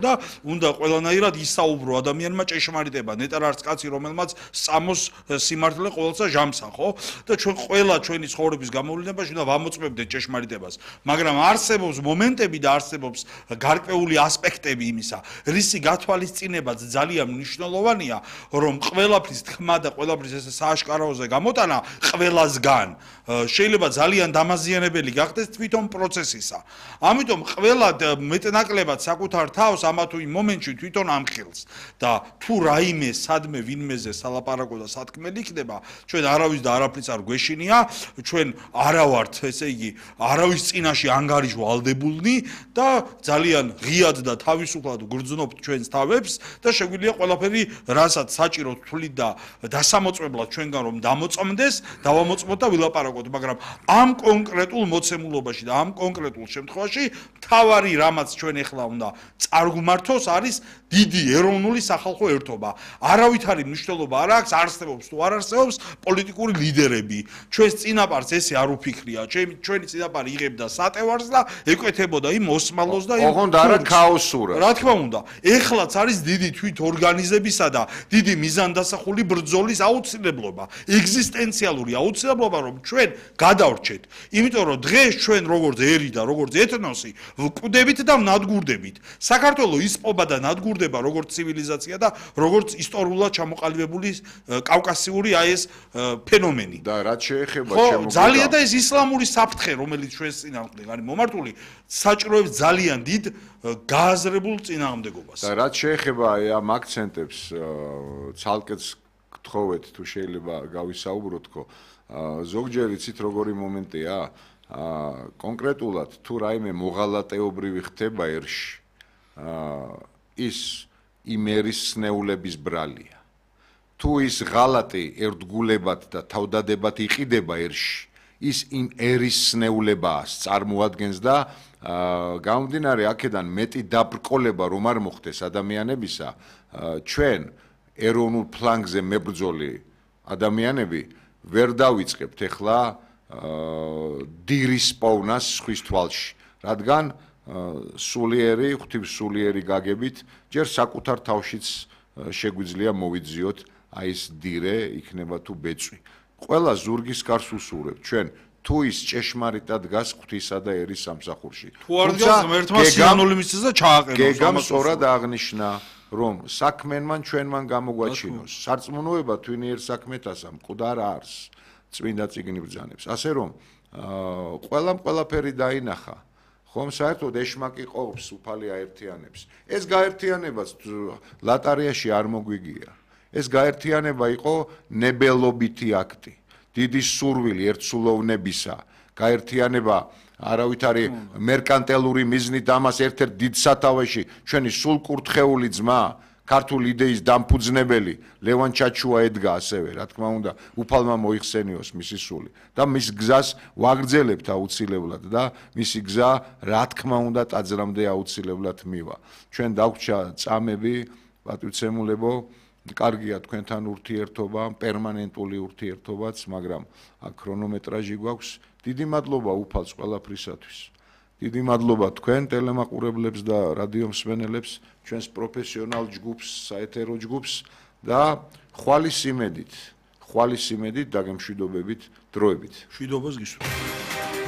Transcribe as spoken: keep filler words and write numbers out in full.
და უნდა ყველანაირად ისაუბრო ადამიანმა ჭეშმარიტება, ნეტარ არც კაცი რომელმაც სამოს სიმართლე ყოველსა ჟამსა, ხო? და ჩვენ ყველა ჩვენი ცხოვრების გამოვლენებაში უნდა ვამოწმებდეთ ჭეშმარიტებას, მაგრამ არსებობს მომენტები და არსებობს გარკვეული ასპექტები იმისა, რისი გათვალისწინებაც ძალიან მნიშვნელოვანია, რომ ყველაფრის თქმა და ყველაფრის ესე სააშკარაოზე გამოტანა ყველასგან შეიძლება ძალიან დამაზიანებელი გახდეს თვითონ პროცესისა. ამიტომ ყველა მეტნაკლებად საკუთარ თავს ამა თუ იმ მომენტში თვითონ ამხილს და თუ რაიმე სადმე ვინმეზე სალაპარაკო და სათქმელი იქნება, ჩვენ არავის და არაფრის არ გვეშინია, ჩვენ არა ვართ, ესე იგი, არავის წინაშე ანგარიშვალდებულნი და ძალიან ღიად და თავისუფლად გვგრძნობთ ჩვენს თავებს და შეგვიძლია ყველაფერი, რასაც საჭირო თვლით და დასამოწმებლად ჩვენგან რომ დამოწმდეს, დავამოწმოთ და ვილაპარაკოთ, მაგრამ ამ კონკრეტულ მოცემულობაში და ამ კონკრეტულ შემთხვევაში მთავარი რამაც ჩვენ ეხლა უნდა წარგვმართოს არის დიდი ეროვნული სახალხო ერთობა. არავითარი მნიშვნელობა არ აქვს, არსებობს თუ არ არსებობს პოლიტიკური ლიდერები. ჩვენს წინაპარს ესე არ უფიქრია, ჩვენი წინაპარი იღებდა სატევარს და ეკვეთებოდა იმ ოსმალოს და იმ ოღონდ არა ქაოსურად. რა თქმა უნდა, ეხლაც არის დიდი თვით ორგანიზებისა და დიდი მიზანდასახული ბრძოლის აუცილებლობა, ეგზისტენციალური აუცილებლობა, რომ ჩვენ გადავრჩეთ. იმიტომ რომ დღეს ჩვენ როგორც ერი და როგორც ეთნოსი ვკვდებით და ვნადგურდებით. საქართველოს ისპობა და ნადგურდება როგორც ცივილიზაცია და როგორც ისტორიულად ჩამოყალიბებული კავკასიური აი ეს ფენომენი. და რაც შეეხება ჩემო ძალიან და ეს ისლამური საფრთხე, რომელიც ჩვენს წინააღმდეგ არის მომართული, საჭიროებს ძალიან დიდ გააზრებულ წინააღმდეგობას. და რაც შეეხება აი ამ აქცენტებს ცალკეც გთხოვეთ თუ შეიძლება გავისაუბროთ ხო ზოგჯერ იცით როგორი მომენტია კონკრეტულად თუ რაიმე მოღალატეობრივი ხდება ერში ის იმერის სნეულების ბრალია თუ ის ღალატი ერთგულებად და თავდადებად იყიდება ერში ის იმ ერის სნეულებაა წარმოადგენს და გამომდინარე აქედან მეტი დაბრკოლება რომ არ მოხდეს ადამიანებისა ჩვენ ეროვნულ ფლანგზე მებრძოლი ადამიანები ვერ დავიწყებთ ეხლა დირის პოვნას სხვის თვალში რადგან სულიერი ღვთივსულიერი გაგებით ჯერ საკუთარ თავშიც შეგვიძლია მოვიძიოთ აი ეს დირე იქნება თუ ბეწვი ყველა ზურგის გარს უსურვებთ ჩვენ თუ ის ჭეშმარიტად დგას ღვთისა და ერის სამსახურში თუ არ დგას ღმერთმა სიანული მისცეს და ჩააყენოს გეგამ სწორად აღნიშნა რომ საქმენმან ჩვენმან გამოგვაჩინოს სარწმუნოება თვინიერ საქმეთასა მკვდარ არს წმინდა წიგნი ბრძანებს ასე რომ ყველამ ყველაფერი დაინახა ხომ საერთოდ ეშმაკი ყოფს უფალი აერთიანებს ეს გაერთიანებაც ლატარიაში არ მოგვიგია ეს გაერთიანება იყო ნებელობითი აქტი დიდი სურვილი ერთსულოვნებისა გაერთიანება არავითარი მერკანტელური მიზნით ამას ერთ-ერთ დიდ სათავეში ჩვენი სულკურთხეული ძმა ქართული იდეის დამფუძნებელი ლევან ჩაჩუა ედგა ასევე რა თქმა უნდა უფალმა მოიხსენიოს მისი სული და მის გზას ვაგრძელებთ აუცილებლად და მისი გზა რა თქმა უნდა ტაძრამდე აუცილებლად მივა ჩვენ დაგვჭა წამები პატივცემულებო კარგია თქვენთან ურთიერთობა პერმანენტული ურთიერთობაც მაგრამ აქ ქრონომეტრაჟი გვაქვს დიდი მადლობა უფალს ყველაფრისათვის დიდი მადლობა თქვენ ტელემაყურებლებს და რადიომსმენელებს ჩვენს პროფესიონალ ჯგუფს საეთერო ჯგუფს და ხვალის იმედით ხვალის იმედით დაგემშვიდობებით დროებით მშვიდობას გისურვებთ